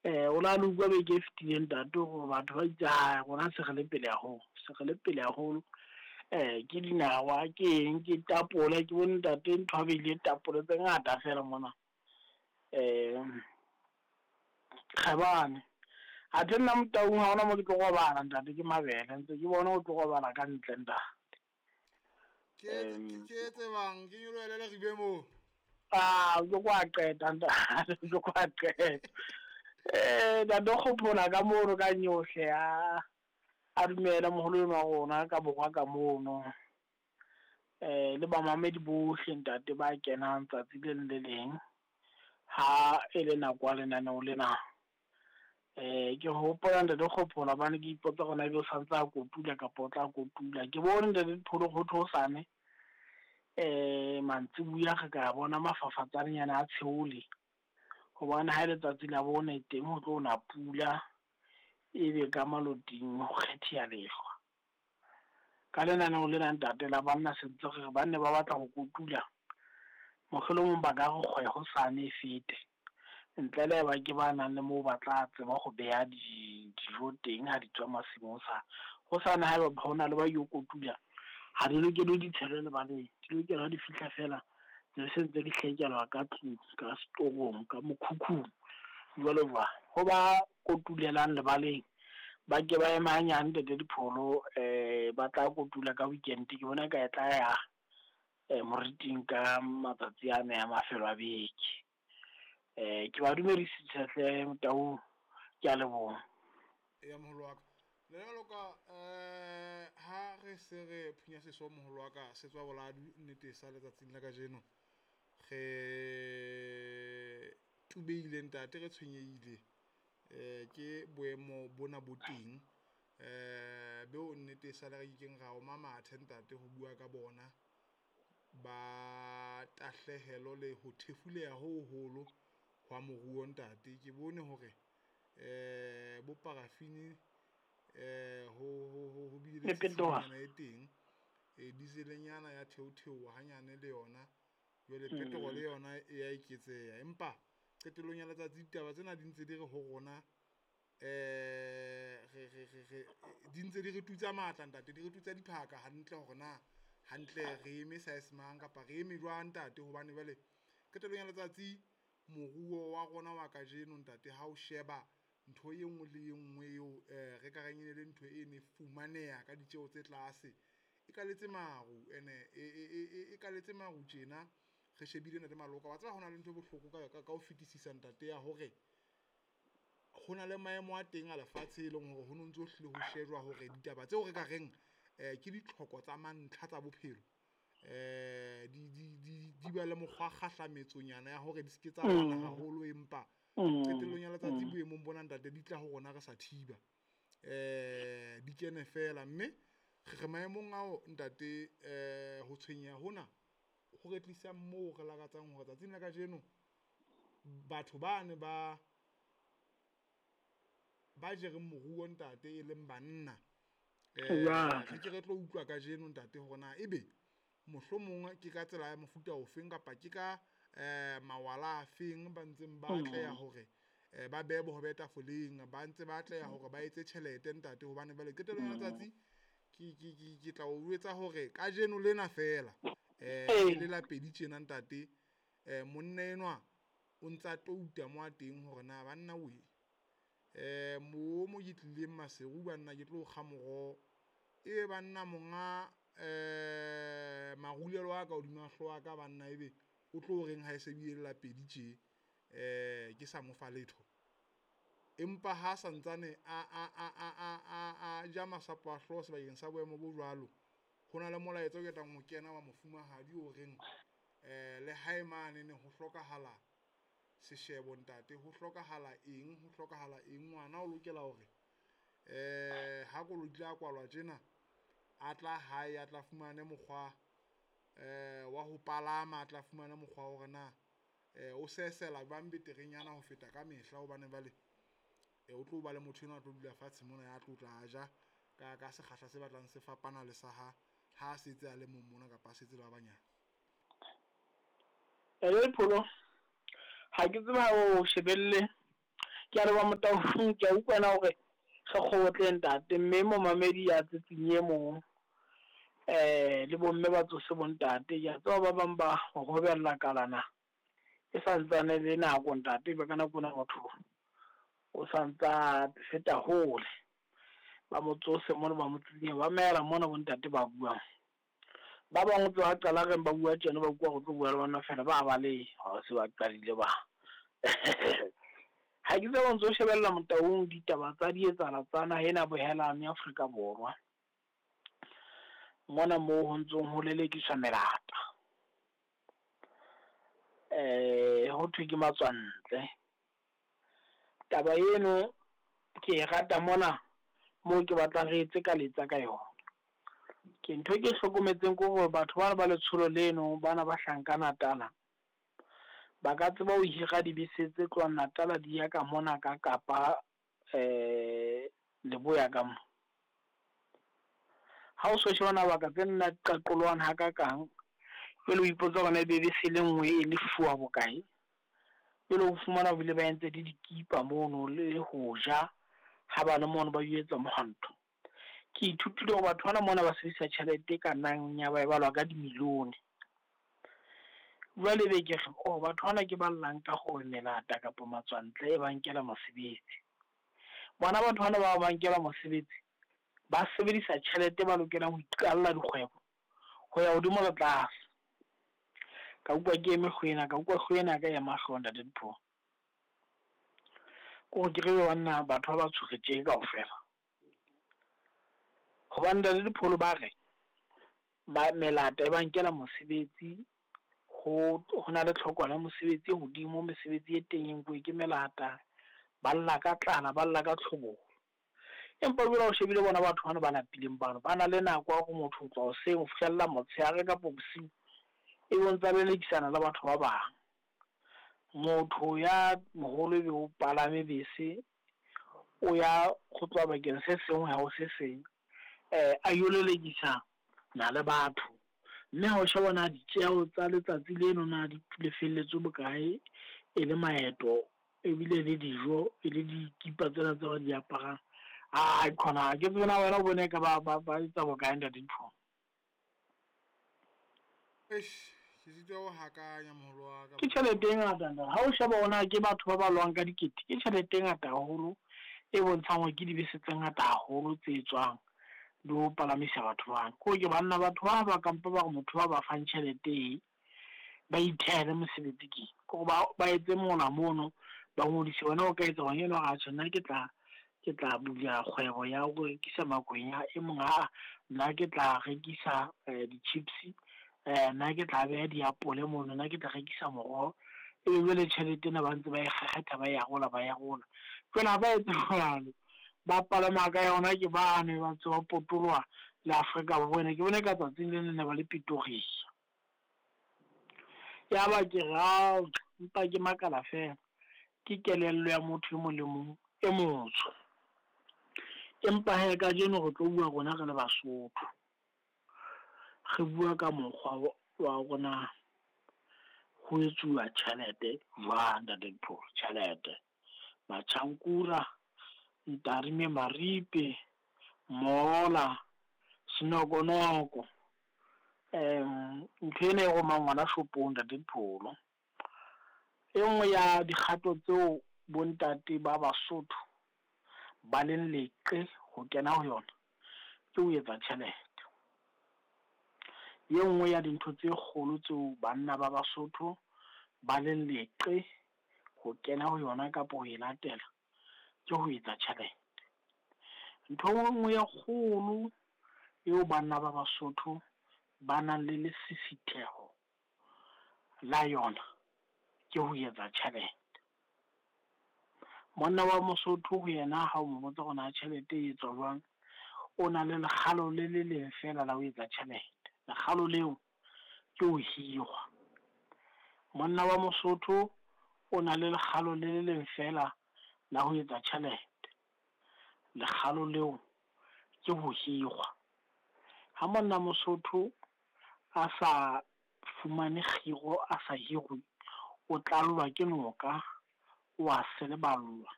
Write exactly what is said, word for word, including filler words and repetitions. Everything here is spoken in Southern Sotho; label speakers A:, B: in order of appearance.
A: Eh o la le utlwa beke e fetileng ntate hore batho ba itse ha rona se re le pele haholo, se re le pele haholo. Eh ke dinawa, ke eng, ke tapole, ke bone ntate ntho a beile tapole tse ngata fela mona. Eh kgabane. Athe nna Motaung ha hona mo ke tlo robala ntate, ke mabele ntse ke bona o tlo robala ka ntle ntate.
B: Ke ke tsebang ke nyolohele le ribe moo.
A: Ah, o tlo kwa qeta ntate, o tlo kwa qeta. Eh ntate o kgophola ka mono ka nyohle a a dumela moholo enwa wa rona ka borwa ka mono. Eh le bamamedi bohle ntate ba kenang tsatsi le leng le leng ha e le nako ya lenaneo lena. Eh ke hopola ntate Kgophola hobane ke ipotsa hore na ebe o santse a kotula kapa o tla kotula. Ke bone ntate Dipholo ho thwe hosane eh mantsibuya re ka bona mafafatsanenyana a tsheole. Hobane ha letsatsi la bone teng ho tlo na pula ebe ka maloting ho kgetheha lehlwa. Ka lenaneo lena ntate la banna se ntse re banne ba batla ho kotula, mohlolomong ba ka re kgwe hosane e fete. Ntle le haeba ke ba nang le moo ba tla tseba ho beha di dijo teng ha di tswa masimong hosane. Hosane haeba hona le ba yo kotula, ha di lokele di tshelwe lebaleng, di lokela ha di fihla fela tse se ntse di hlakelwa ka tlung, ka setorong, ka mokhukhung jwalo jwalo. Ho ba kotulelang lebaleng ba ke ba eme hanyane ntate Dipholo, eh ba tla kotula ka weekend. Ke bona ka e tla ya eh moriting ka matsatsi a ne a mafelo a beke. Eh ke ba dumedisitse hle Motaung, ke a leboha.
B: Ya moholo wa ka. Le jwalo ka eh ha re se re phunya seso moholo wa ka se tswa boladu nnete sa letsatsing la kajeno. Re tubeile ntate, re tshwenyehile eh ke boemo bona bo teng eh beo nnete sa le re keng ra oma mathe ntate ho bua ka bona ba tahlehelo le ho thefuleha ho hoholo hwa moruo ntate. Ke bone hore eh bo parafini eh ho ho ho bile le tshenyana e teng, e dieselnyana ya theotheoha hanyane le yona jwale petrol le yona e ya eketseha. Empa qetellong ya letsatsi ditaba tsena di ntse di re ho rona eh re re re re di ntse di re tutsa matla ntate, di re tutsa diphaka hantle hore na hantle re eme size mang kapa re eme jwang ntate. Hobane jwale qetellong ya letsatsi moruo wa rona wa kajeno ntate ha o sheba ntho e nngwe le e nngwe eo eh re ka reng e le ntho e ne fumaneha ka ditjeho tse tlase e kaletse maru, ene e e kaletse maru tjena. Re shebile ntate Maloka, wa tseba hona le ntho e bohloko ka ka ho fetisisa ntate ya hore ho na le maemo a teng a lefatshe e leng hore ho no ntso hlile ho shejwa hore ditaba tseo re ka reng eh ke ditlhoko tsa mantlha tsa bophelo eh di di di di ba le mokgwa kgahlametsonyana ya hore di se ke tsa bana haholo, empa qetellong ya letsatsi boemong bona ntate di tla ho rona re sa thiba eh di kene fela. Mme re maemong ao ntate eh ho tshwenyeha hona ho re tlisa moo re lakatsang hore tsatsing la kajeno batho bane ba ba jereng moruo ntate e leng banna eh re ke re tlo utlwa kajeno ntate hore na ebe mohlomong ke ka tsela ya mofuta ofeng kapa ke ka eh mawala a feng ba ntseng ba atleha hore ba behe bohobe tafoleng, ba ntse ba atleha hore ba etse tjhelete ntate. Hobane jwale qetellong ya letsatsi ke ke ke ke tla o jwetsa hore kajeno lena fela eh le la pedi tjena ntate eh monna enwa o ntsa touta mo a teng hore na banna we eh mo mo ke tlileng Maseru banna ke tlo kga moroho e banna monga eh marulelo a ka hodima hlooho ya ka banna ebe o tlo reng ha e se bile la pedi tje eh ke sa mo fa letho. Empa ha santsane a a a a a a ja masapo a hlooho sebakeng sa boemo bo jwalo, ho na le molaetsa o ketang ho kena wa mofumahadi o reng eh le hae mane ne ho hlokahala seshebo ntate, ho hlokahala eng, ho hlokahala eng, ngwana o lokela hore eh ha koloi tla kwalwa tjena a tla hae a tla fumane mokgwa eh wa ho palama, a tla fumane mokgwa hore na eh o sesela jwang beterenyana ho feta ka mehla. Hobane jwale o tlo ba le motho enwa a tlo dula fatshe mona ya tlo tla ja ka ka sekgahla se batlang se fapana le sa ha ha setse a le mong mona kapa a setse le ba banyane.
A: Ele Pholo, ha ke tseba o shebelle Ke a leboha Motaung, ke a utlwa na hore re kgobotle ntate, mme momamedi ya tsetseng e mong eh le bomme ba tsose bontate. Ke a tseba ba bang ba hobella kalana e santsane le nako ntate, ebe ka nako ena motho o santsa feta hole. Ba mo tsose mona ba mo tsikinye, mamela mona bo ntate ba buang. Ba bang o tswa qala reng ba bua tjena, ba utlwa hore o tlo bua le bona fela ba baleha, ha se ba qadile ba. Ha ke tsebe o ntso shebella Motaung ditaba tsa di etsahala tsa naha ena bohelane Afrika Borwa. Mona moo ho ntsong ho lelekiswa melata. Eh ho thwe ke matswantle. Taba eno ke e rata mona moo ke batlang re etse ka letsa ka yona. Ke ntho e ke hlokometseng ke hore batho bana ba letsholo leno bana ba hlahang ka Natala, ba ka tseba ho hira dibese tse tlohang Natala di ya ka mona ka Kapa eh Leboya ka mo. Ha o so sheba mabaka tse nna qaqollohang hakakang, jwale o ipotsa hore na ebe bese e le nngwe e lefuwa bokae. Jwale o fumana bile ba entse le dikipa mono le ho ja ha ba le mono ba yo etsa mohwanto. Ke ithutile hore batho bana mona ba sebedisa tjhelete e ka nnang ya ba e balwa ka dimilione. Jwale ebe ke re, oh batho bana ke ba llang ka hore melata kapa matswantle e ba nkela mosebetsi. Bona batho bana ba ba nkela mosebetsi, ba sebedisa tjhelete ba lokelang ho iqalla dikgwebo ho ya hodimo le tlase. Ka utlwa ke eme hlooho ka utlwa hlooho ena ya ka ya ema hlooho ntate Dipholo. Kore ke re banna batho ba batsho re tje kaofela. Hobane ntate Dipholo ba re ba melata e ba nkela mosebetsi, ho hona le tlhokwana ya mosebetsi e hodimo, mesebetsi e teng e nkuwe ke melata. Ba lla ka tlala, ba lla ka tlhobolo. Empa jwale ha o shebile bona batho bana ba lapileng bano, ba na le nako ya hore motho ho tloha hoseng ho fihlella motshehare kapa bosiu, ebe o ntsa lelekisana le batho ba bang. Motho ya moholo ebe o palame bese, o ya ho tloha bakeng se seng ho ya ho se seng, eh a yo lelekisa na le batho. Mme ha o sheba na ditjeho tsa letsatsi leno na di lefelletswe bokae, e le maeto ebile le dijo, e le dikipa tsena tse ba di aparang. Ai khona ha ke tsebe na wena o bone ka ba ba ba etsa bokae ntate Dipholo.
B: Eish, ke sitwa ho hakanya moholo wa ka.
A: Ke tjhelete e ngata ntate. Ha o sheba hore na ke batho ba balwang ka dikete, ke tjhelete e ngata haholo e bontshang hore ke dibese tse ngata haholo tse tswang di ho palamisa batho bana. Ko ke banna batho ba ba kampa ba re motho ba ba fang tjhelete e ba ithehele mosebetsi ke. Kore ba ba etse mola mono ba ngodise wena o ka etsa hore eno atjhe nna ke tla ke tla bula kgwebo ya ho rekisa makwenya, e mong ha nna ke tla rekisa di-chips, eh nna ke tla beha diapole mono, nna ke tla rekisa moroho. Ebe jwale tjhelete ena ba ntse ba e kgekgetha ba e arola ba e arola. Jwale ha ba etse jwalo, ba palama ka yona ke bane ba ntse ba potoloha le Afrika Borwa ena. Ke bone ka tsatsing le leng ne ba le Pretoria. Ya ba ke re ao, mpa ke makala fela. Ke kelello ya motho e mong le mong e motsho. Empa hee kajeno re tlo bua rona re le Basotho. Re bua ka mokgwa wa rona ho etsuwa tjhelete jwang ntate Dipholo, tjhelete. Machankura, Ntarime Maripe, Mola, Senokonoko. Um ntho ena e romang ngwana shopong ntate Dipholo. E nngwe ya dikgato tseo bontate ba Basotho ba leng leqe ho kena ho yona ke ho etsa tjhelete. E nngwe ya dintho tse kgolo tseo banna ba Basotho ba leng leqe ho kena ho yona kapa ho e latela ke ho etsa tjhelete. Ntho e nngwe e kgolo eo banna ba Basotho ba nang le lesisitheho la yona ke ho etsa tjhelete. Monna wa Mosotho ho yena ha o mo botsa hore na tjhelete e etswa jwang, o na le lekgalo le le leng fela la ho etsa tjhelete. Lekgalo leo ke ho hirwa. Monna wa Mosotho o na le lekgalo le le leng fela la ho etsa tjhelete. Lekgalo leo ke ho hirwa. Ha monna Mosotho a sa fumane kgiro, a sa hirwe, o tlallwa ke noka, o a seleballwa.